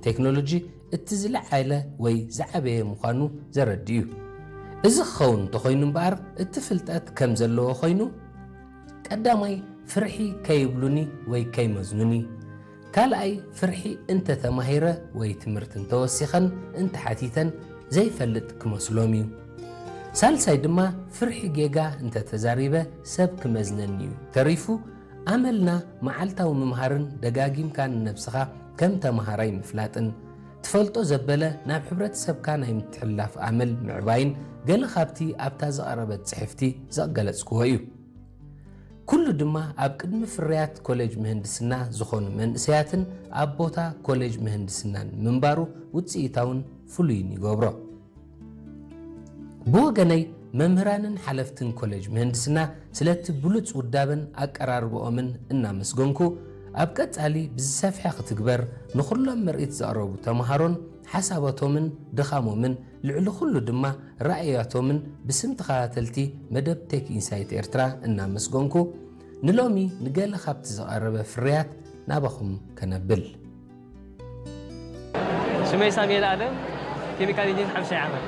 ቴክኖሎጂ እቲ ዝለዓለ ወይ ዝዓበየ ምዃኑ ዘረድእ እዩ። እዚ ክኸውን እንተኾይኑ እምበኣር፣ እቲ ፍልጠት ከም ዘለዎ ኮይኑ፣ ቀዳማይ ፍርሒ ከይብሉኒ ወይ ከይመዝኑኒ፣ ካልኣይ ፍርሒ እንተተማሂረ ወይ ትምህርቲ እንተወሲኸን እንተሓቲተን ዘይፈልጥ ክመስሎም እዩ። ሳልሳይ ድማ ፍርሒ ጌጋ እንተተዛሪበ ሰብ ክመዝነኒ እዩ። ተሪፉ ኣመልና መዓልታዊ ምምሃርን ደጋጊምካ ንነብስኻ ከም ተምሃራይ ምፍላጥን፣ ትፈልጦ ዘበለ ናብ ሕብረተሰብካ ናይ ምትሕልላፍ ኣመል ምዕባይን ገለ ካብቲ ኣብታ ዝቐረበት ጽሕፍቲ ዘገለጽክዎ እዩ። ኩሉ ድማ ኣብ ቅድሚ ፍርያት ኮሌጅ ምህንድስና ዝኾኑ መንእሰያትን ኣብ ቦታ ኮሌጅ ምህንድስናን ምንባሩ ውጽኢታውን ፍሉይን ይገብሮ። ብወገነይ፣ መምህራንን ሓለፍትን ኮሌጅ ምህንድስና ስለቲ ብሉጽ ውዳበን ኣቀራርባኦምን እናመስገንኩ፣ ኣብ ቀጻሊ ብዝሰፍሐ ክትግበር ንኹሎም ምርኢት ዘቕረቡ ተምሃሮን ሓሳባቶምን ድኻሞምን፣ ልዕሊ ኩሉ ድማ ራእያቶምን ብስም ተኸታተልቲ መደብ ቴክ ኢንሳይት ኤርትራ እናመስገንኩ፣ ንሎሚ ንገለ ካብቲ ዝቐረበ ፍርያት ናባኹም ከነብል። ሽመይ ሳሙኤል ኣለም፣ ኬሚካል ኢንጂን ሓምሻይ ዓመት።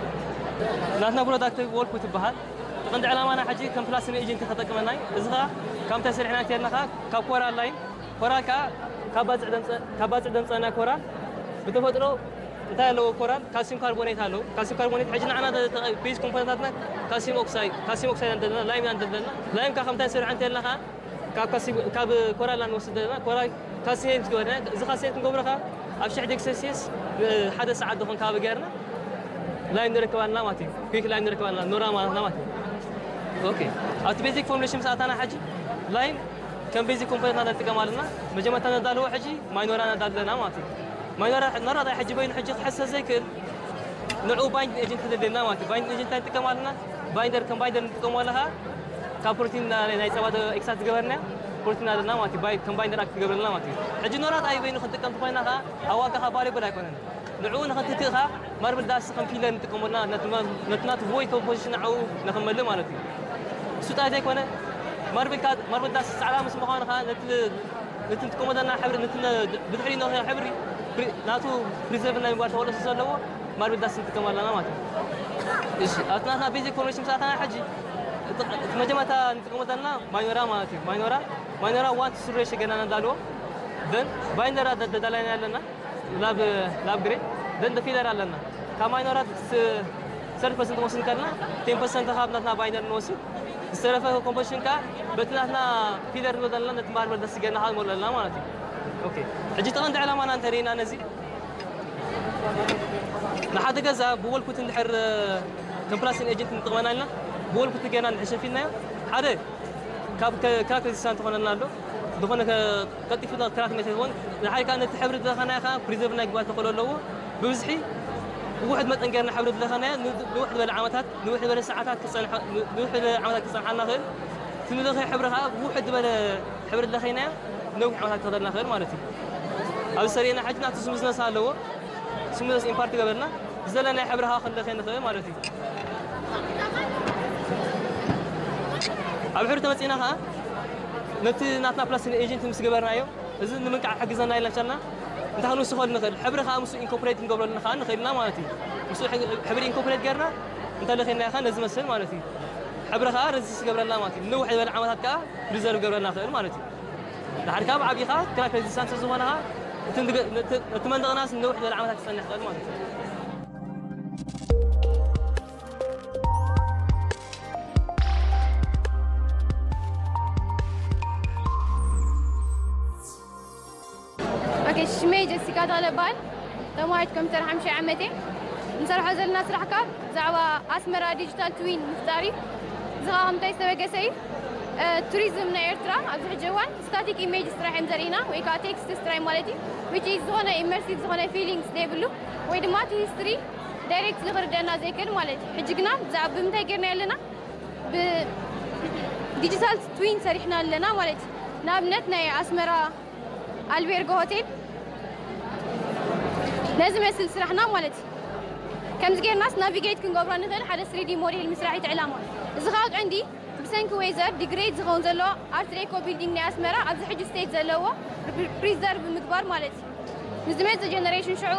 ናትና ፕሮዳክት ዎልኩ ትበሃል። እቲ ቀንዲ ዕላማና ሕጂ ከም ፕላስቲክ ኤጀንት ተጠቅመናይ። እዚ ኸኣ ካብ ምንታይ ሰሪሕና እንተልና ኸኣ ካብ ኮራል ላይን፣ ኮራል ከኣ ካብ ባጽዕ ደምጸ-፣ ካብ ባጽዕ ደምጸና ኮራል ብተፈጥሮ እንታይ ኣለዎ? ኮራል ካልሲየም ካርቦኔት ኣለዎ። ካልሲየም ካርቦኔት ሕጂ ንዓና ተ-፣ ተ-፣ ቤዝ ኮምፖነንታትና ካልሲየም ኦክሳይድ፣ ካልሲየም ኦክሳይድ ኣለና፣ ላይም ኣለና። ላይም ከኣ ካብ ምንታይ ሰሪሕና እንተልና ኸኣ ካብ ካልሲ-፣ ካብ ኮራል ንወስድ ዘለና፣ ኮራል ካልሲኔት ዝገበርና፣ እዚ ካልሲኔት ክንገብሮ ከኣ ኣብ ሽሕ ዲግሪ ሴልሲየስ ንሓደ ሰዓት ዝኾን ከባቢ ገይርና ላይም ንረክብ ኣለና ማለት እዩ። ኩዊክ ላይም ንረክብ ኣለና፣ ኖራ ማለት ማለት እዩ። ኦኬ፣ ኣብቲ ቤዚክ ፎርሙሌሽን ምስ ኣታና ሕጂ ላይም ከም ቤዚክ ኮምፖነንት ንጥቀም ኣለና። መጀመርታ ነዳልዎ ሕጂ ማይ ኖራ ነዳሊ ኣለና ማለት እዩ። ማይ ኖራ፣ ኖራ ዳይ ሕጂ በይኑ ሕጂ ክሕዝ ዘይክእል ንዕኡ ባይንዲንግ ኤጀንት ተደልየና ማለት እዩ። ባይንዲንግ ኤጀንት እንታይ ንጥቀም ኣለና? ባይንደር፣ ከም ባይንደር ንጥቀሞ ኣለኻ። ካብ ፕሮቲን ናይ፣ ናይ ጸባ ኤክስትራክት ዝገበርና ፕሮቲን ኣለና ማለት እዩ። ባይ-፣ ከም ባይንደር ኣክት ዝገብረልና ማለት እዩ። ሕጂ ኖራ ዳይ በይኑ ክንጥቀም ተኾይና ኸኣ ኣብ ዋጋ ኸኣ ቫልዩብል ኣይኮነን። ንዕኡ ንኽንትክእ ኸኣ ማርብል ዳስት ከም ፊለር ንጥቀመልና፣ ነቲ ማ-፣ ነቲ ናቱ ቮይድ ኮምፖዚሽን ንዕኡ ንኽመልእ ማለት እዩ። እሱ ጥራይ ዘይኮነ ማርብል ካ-፣ ማርብል ዳስት ጻዕዳ ምስ ምዃኑ ኸኣ ነቲ፣ ነቲ ንጥቀመሉ ዘለና ሕብሪ፣ ነቲ ነ-፣ ብድሕሪ ነኽዮ ሕብሪ ፕሪ-፣ ናቱ ፕሪዘርቭ ናይ ምግባር ተኽእሎ ስለ ዘለዎ ማርብል ዳስት ንጥቀም ኣለና ማለት እዩ። እሺ፣ ኣብቲ ናትና ቤዚክ ፎርሙሌሽን ምስ ኣተና ሕጂ እቲ፣ እቲ መጀመርታ ንጥቀመሉ ዘለና ማይ ኖራ ማለት እዩ። ማይ ኖራ፣ ማይ ኖራ ዋን ቱ ስሪ ሬሽዮ ገና ነዳልዎ። ደን ባይንደር ደ-፣ ደ-፣ ደላይና ኣለና። ላብ፣ ላብ ግሬድ፣ ደን ደ ፊለር ኣለና። ካብ ማይ ኖራ ስ-፣ ሰርቲ ፐርሰንት ክንወስድ ከለና፣ ቴን ፐርሰንት ካብ ናትና ባይንደር ንወስድ። ዝተረፈ ኮምፖዚሽን ከኣ በቲ ናትና ፊለር ንብሎ ዘለና ነቲ ማርብል ዳስት ገና ከኣ ንመልኦ ኣለና ማለት እዩ። ኦኬ። ሕጂ እቲ ቀንዲ ዕላማና እንተሪእና ነዚ፣ ንሓደ ገዛ ብወልኩት እንድሕር ከም ፕላስቲክ ኤጀንት ንጥቀመና ኢልና ብወልኩት ገና እንድሕር ሸፊንናዮ፣ ሓደ ካብ ከ-፣ ክራክ ሬዚስታንት ትኾነና ኣሎ። ዝኾነ ከ-፣ ቀልጢፉ ክራክ መይተ ይኸውን። ንሓደ ከኣ ነቲ ሕብሪ ዝለኻናዮ ከኣ ፕሪዘርቭ ናይ ግባት ተኽእሎ ኣለዎ። ብብዝሒ ብውሕድ መጠን ገይርና ሕብሪ ዝለኻናዮ ን-፣ ንውሕ ዝበለ ዓመታት፣ ንውሕ ዝበለ ሰዓታት ክጸንሐ-፣ ንውሕ ዝበለ ዓመታት ክጸንሓልና ይኽእል። እቲ ንለኽዮ ሕብሪ ከኣ ብውሕድ ዝበለ ሕብሪ ዝለኸይናዮ ነዊሕ ዓመታት ክኸደልና ይኽእል ማለት እዩ። ኣብዚ ሰሪእና ሕጂ ናቱ ስሙዝነስ ኣለዎ። ስሙዝነስ ኢምፓርት ገበርና ዝደለናዮ ሕብሪ ከኣ ክንለኽዮ ንኽእል ማለት እዩ። ኣብ ሕብሪ ተመጺእና ከኣ ነቲ ናትና ፕላስቲክ ኤጀንት ምስ ገበርናዮ፣ እዚ ንምንቃዕ ክሕግዘና ኢልና ቻልና እንታይ ክንውስኸሉ ንኽእል? ሕብሪ ከኣ ምስኡ ኢንኮርፖሬት ክንገብረሉ ከኣ ንኽእል ኢና ማለት እዩ። ምስኡ ሕብሪ፣ ሕብሪ ኢንኮርፖሬት ገይርና እንተለኺናዮ ከኣ ነዚ መስል ማለት እዩ። ሕብሪ ከኣ ረዚስት ይገብረልና ማለት እዩ። ንነውሕ ዝበለ ዓመታት ከኣ ፕሪዘርቭ ይገብረልና ይኽእል ማለት እዩ። ድሓር ከኣ ብዓብዪ ከኣ ክራክ ሬዚስታንት ዝኾነ ከኣ እቲ ንገ-፣ እቲ፣ እቲ መንደቕናስ ንነውሕ ዝበለ ዓመታት ክጸንሕ ይኽእል ማለት እዩ። ኦኬ፣ ሽመይ ጀሲካ ተኽለ እበሃል። ተማሃሪት ኮምፒተር ሓምሻይ ዓመት እየ። እንሰርሖ ዘለና ስራሕ ከኣ ብዛዕባ ኣስመራ ዲጂታል ትዊን ምፍጣር እዩ። እዚ ከኣ ከምታይ ዝተበገሰ እዩ። እ፣ ቱሪዝም ናይ ኤርትራ ኣብዚ ሕጂ እዋን ስታቲክ ኢሜጅስ ጥራሕ እዮም ዘርእና፣ ወይ ከኣ ቴክስትስ ጥራይ ማለት እዩ። ዊች ኢዝ ዝኾነ ኢመርሲቭ ዝኾነ ፊሊንግስ ዘይብሉ፣ ወይ ድማ እቲ ሂስትሪ ዳይሬክት ንኽርደና ዘይክእል ማለት እዩ። ሕጂ ግና ብዛዕባ ብምንታይ ጌርና ኣለና? ብዲጂታል ትዊን ሰሪሕና ኣለና ማለት እዩ። ንኣብነት ናይ ኣስመራ ኣልቤርጎ ሆቴል ነዚ መስል ስራሕና ማለት እዩ። ከምዚ ጌርናስ ናቪጌት ክንገብሮ ንኽእል፣ ሓደ ስሪ ዲ ሞዴል ምስራሕ እቲ ዕላማ። እዚ ኸኣ ቀንዲ ብሰንኪ ዌዘር ዲግሬድ ዝኸውን ዘሎ ኣርት ዴኮ ቢልዲንግ ናይ ኣስመራ ኣብዚ ሕጂ ስቴት ዘለዎ ፕሪዘርቭ ምግባር ማለት እዩ። ንዝመጽእ ጀነሬሽን ሽዑ